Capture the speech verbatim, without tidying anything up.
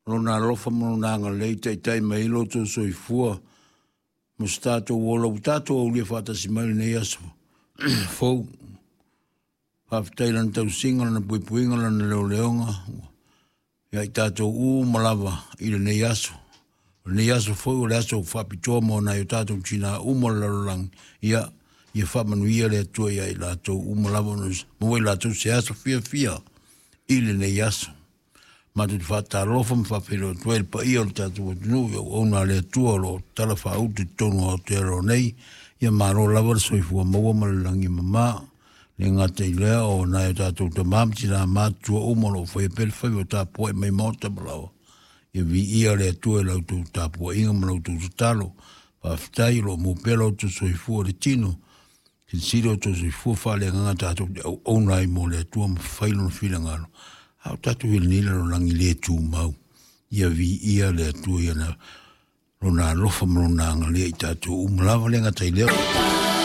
Lona alofa ma Lona agalelei taitai mai ai lo outou soifua ma so tatou ola ua tatou aulia faatasi mai lenei aso fou. Faafetai i Lana tausiga, Lana puipuiga, Lana leoleoga ia i tatou uma lava i lenei aso. O lenei aso foi o le aso faapitoa mo nai o tatou tina uma o le lalolagi. Ia, ia faamanuia le Atua ia i latou uma lava, ona maua i latou se aso fiafia i lenei aso. Matou te faatalofa ma faafeiloai atu ai le paia o le tatou atunuu i auauna a le Atua o lo o talafaauto i totonu o Aotearoa nei. Ia malo lava le soifua maua ma le lagi e mama. Le gata i lea o nai o tatou tama ma tina matutua uma o lo o faia pea le faiva o tapuai mai maota ma laoa. Ia viia le Atua i la outou tapuaiga ma la outou tatalo. Faafetai o lo o maua pea lo outou soifua i le tino. Silasila o outou soifua faaleagaga tatou te auauna ai mo le Atua ma fai lona finagalo. A o tatou i lenei lalolagi le tumau. Ia viia le Atua i lona alofa ma lona agalelei ia i tatou uma lava. Le gata i lea.